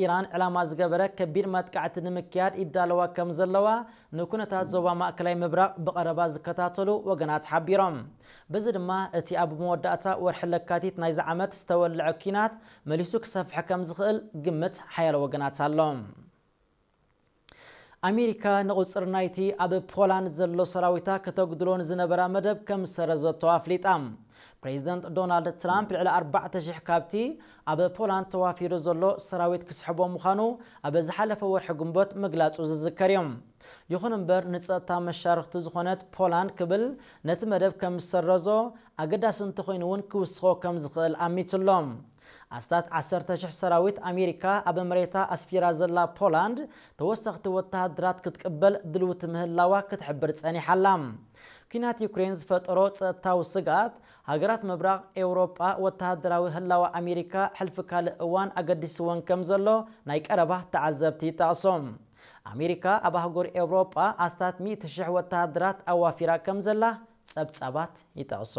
ኢራን ዕላማ ዝገበረ ከቢድ መጥቃዕቲ ንምክያድ ይዳለዋ ከም ዘለዋ ንኩነታት ዞባ ማእከላይ ምብራቕ ብቐረባ ዝከታተሉ ወገናት ሓቢሮም። በዚ ድማ እቲ ኣብ መወዳእታ ወርሒ ለካቲት ናይዚ ዓመት ዝተወልዐ ኲናት መሊሱ ክሰፍሕ ከም ዝኽእል ግምት ሓያሎ ወገናት ኣሎ። ኣሜሪካ ንቑጽሪ ናይቲ ኣብ ፖላንድ ዘሎ ሰራዊታ ከተጉድሎ ንዝነበራ መደብ ከም ዝሰረዘቶ ኣፍሊጣ። ፕሬዚደንት ዶናልድ ትራምፕ ልዕሊ ኣርባዕተ ሽሕ ካብቲ ኣብ ፖላንድ ተዋፊሩ ዘሎ ሰራዊት ክስሕቦ ምዃኑ ኣብ ዝሓለፈ ወርሒ ግንቦት ምግላጹ ዝዝከር እዩ። ይኹን እምበር ንጸጥታ መሻርኽቲ ዝኾነት ፖላንድ ክብል ነቲ መደብ ከም ዝሰረዞ ኣገዳሲ እንተኾይኑ እውን ክውስኾ ከም ዝኽእል ኣሚቱ ኣሎ። ኣስታት ዓሰርተ ሽሕ ሰራዊት ኣሜሪካ ኣብ መሬታ ኣስፊራ ዘላ ፖላንድ ተወሰኽቲ ወተሃደራት ክትቅበል ድልውቲ ምህላዋ ክትሕብር ጸኒሓ ኣላ። ኲናት ዩክሬን ዝፈጠሮ ጸጥታዊ ስግኣት ሃገራት ምብራቕ ኤውሮጳ ወተሃደራዊ ህላወ ኣሜሪካ ሕልፊ ካልእ እዋን ኣገዲስወን ከም ዘሎ ናይ ቀረባ ተዓዘብቲ ይጠቕሶ። ኣሜሪካ ኣብ ኣህጉር ኤውሮጳ ኣስታት ሚእቲ ሽሕ ወተሃደራት ኣዋፊራ ከም ዘላ ጸብጻባት ይጠቕሶ።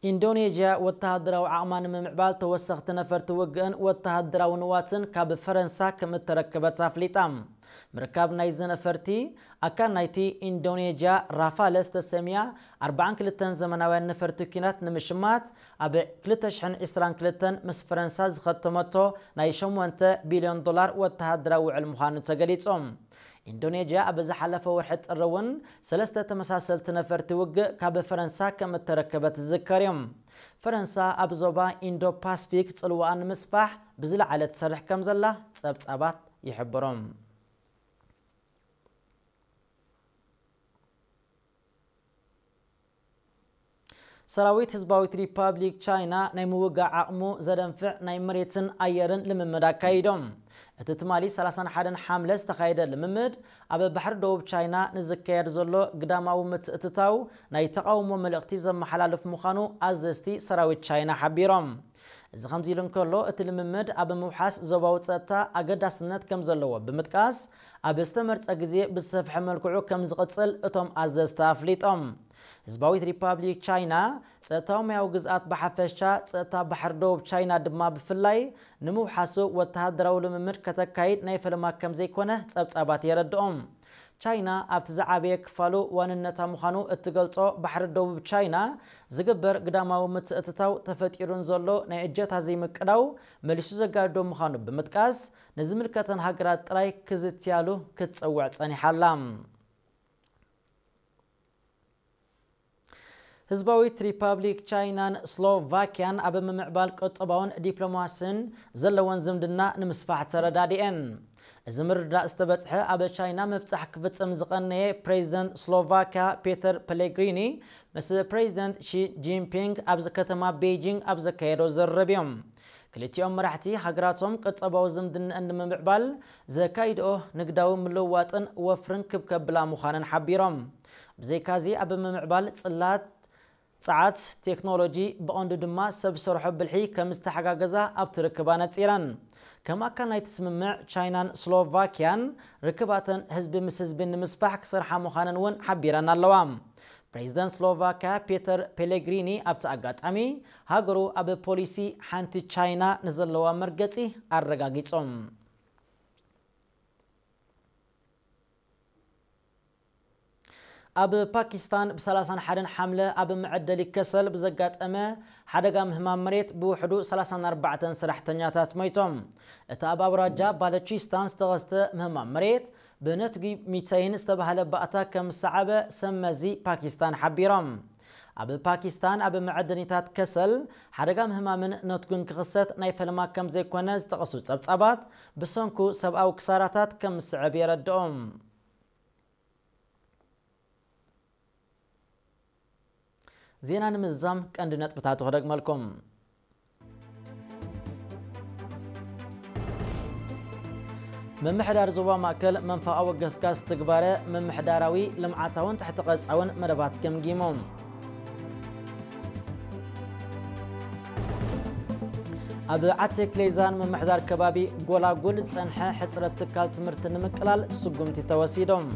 ኢንዶኔዥያ ወተሃደራዊ ዓቕማ ንምምዕባል ተወሰኽቲ ነፈርቲ ውግእን ወተሃደራዊ ንዋትን ካብ ፈረንሳ ከም እተረከበት ኣፍሊጣ። ምርካብ ናይዚ ነፈርቲ ኣካል ናይቲ ኢንዶኔዥያ ራፋለ ዝተሰምያ ኣርባዓን ክልተን ዘመናውያን ነፈርቲ ኲናት ንምሽማት ኣብ ክልተ ሽሕን ዕስራን ክልተን ምስ ፈረንሳ ዝኸተመቶ ናይ ሸሞንተ ቢልዮን ዶላር ወተሃደራዊ ውዕል ምዃኑ ተገሊጹ። ኢንዶኔዥያ ኣብ ዝሓለፈ ወርሒ ጥሪ እውን ሰለስተ ተመሳሰልቲ ነፈርቲ ውግእ ካብ ፈረንሳ ከም እተረከበት ዝዝከር እዩ። ፈረንሳ ኣብ ዞባ ኢንዶ ፓስፊክ ጽልዋኣ ንምስፋሕ ብዝለዓለ ትሰርሕ ከም ዘላ ጸብጻባት ይሕብሩ። ሰራዊት ህዝባዊት ሪፓብሊክ ቻይና ናይ ምውጋእ ዓቕሙ ዘደንፍዕ ናይ መሬትን ኣየርን ልምምድ ኣካይዶም። እቲ ትማሊ ሰላሳን ሓደን ሓምለ ዝተኻየደ ልምምድ ኣብ ባሕሪ ደቡብ ቻይና ንዝካየድ ዘሎ ግዳማዊ ምትእትታው ናይ ተቓውሞ መልእኽቲ ዘመሓላልፍ ምዃኑ ኣዘዝቲ ሰራዊት ቻይና ሓቢሮም። እዚ ከምዚ ኢሉ እንከሎ እቲ ልምምድ ኣብ ምውሓስ ዞባዊ ጸጥታ ኣገዳስነት ከም ዘለዎ ብምጥቃስ ኣብ ዝተመርጸ ግዜ ብዝሰፍሐ መልክዑ ከም ዝቕጽል እቶም ኣዘዝቲ ኣፍሊጦም። ህዝባዊት ሪፓብሊክ ቻይና ጸጥታዊ ማያዊ ግዝኣት ብሓፈሻ ጸጥታ ባሕሪ ደቡብ ቻይና ድማ ብፍላይ ንምውሓሱ ወተሃደራዊ ልምምድ ከተካይድ ናይ ፈለማ ከም ዘይኮነ ጸብጻባት የረድኦም። ቻይና ኣብቲ ዝዓበየ ክፋሉ ዋንነታ ምዃኑ እትገልጾ ባሕሪ ደቡብ ቻይና ዝግበር ግዳማዊ ምትእትታው ተፈጢሩን ዘሎ ናይ እጀታ ዘይምቅዳው መሊሱ ዘጋድዶ ምዃኑ ብምጥቃስ ንዝምልከተን ሃገራት ጥራይ ክዝትያሉ ክትጸውዕ ጸኒሓ ኣላ። ህዝባዊት ሪፓብሊክ ቻይናን ስሎቫኪያን ኣብ ምምዕባል ቁጠባውን ዲፕሎማስን ዘለወን ዝምድና ንምስፋሕ ተረዳዲኤን። እዚ ምርድዳእ ዝተበጽሐ ኣብ ቻይና ምብጻሕ ክፍጽም ዝቐነየ ፕሬዚደንት ስሎቫኪያ ፔተር ፔሌግሪኒ ምስ ፕሬዚደንት ሺ ጂንፒንግ ኣብዚ ከተማ ቤይጂንግ ኣብ ዘካየዶ ዝርርብ እዮም። ክልቲኦም መራሕቲ ሃገራቶም ቁጠባዊ ዝምድንአን ንምምዕባል ዘካይድኦ ንግዳዊ ምልውዋጥን ወፍርን ክብ ከብላ ምዃነን ሓቢሮም። ብዘይካዚ ኣብ ምምዕባል ጽላት፣ ጸዓት፣ ቴክኖሎጂ ብቐንዱ ድማ ሰብ ሰርሖ ብልሒ ከም ዝተሓጋገዛ ኣብቲ ርክብ ኣነጺረን። ከም ኣካል ናይቲ ስምምዕ ቻይናን ስሎቫኪያን ርክባተን ህዝቢ ምስ ህዝቢ ንምስፋሕ ክሰርሓ ምዃነን እውን ሓቢረን ኣለዋ። ፕሬዚደንት ስሎቫኪያ ፔተር ፔሌግሪኒ ኣብቲ ኣጋጣሚ ሃገሩ ኣብ ፖሊሲ ሓንቲ ቻይና ንዘለዋ መርገጺ ኣረጋጊጾም። ኣብ ፓኪስታን ብ ሰላሳን ሓደን ሓምለ ኣብ መዐደሊ ከሰል ብዘጋጠመ ሓደጋ ምህማም መሬት ብውሕዱ ሰላሳን ኣርባዕተን ሰራሕተኛታት ሞይቶም። እቲ ኣብ ኣውራጃ ባለቺስታን ዝተኸስተ ምህማም መሬት ብነትጒ ሚተይን ዝተባህለ ባእታ ከም ዝሰዓበ ሰብ መዚ ፓኪስታን ሓቢሮም። ኣብ ፓኪስታን ኣብ መዐደኒታት ከሰል ሓደጋ ምህማምን ነትጉን ክኽሰት ናይ ፈለማ ከም ዘይኮነ ዝጠቐሱ ጸብጻባት ብሰንኩ ሰብኣዊ ክሳራታት ከም ዝስዕብ የረድኦም። ዜና ንምዝዛም ቀንዲ ነጥብታቱ ክደግመልኩም። ምምሕዳር ዞባ ማእከል መንፈቓዊ ገስጋስ ትግባረ ምምሕዳራዊ፣ ልምዓታውን ትሕቲ ቅርጻውን መደባት ገምጊሙ። ኣብ ዓቲ ክሌዛን ምምሕዳር ከባቢ ጎላጉል ዝጸንሐ ሕጽረት ትካል ትምህርቲ ንምቅላል ስጉምቲ ተወሲዶም።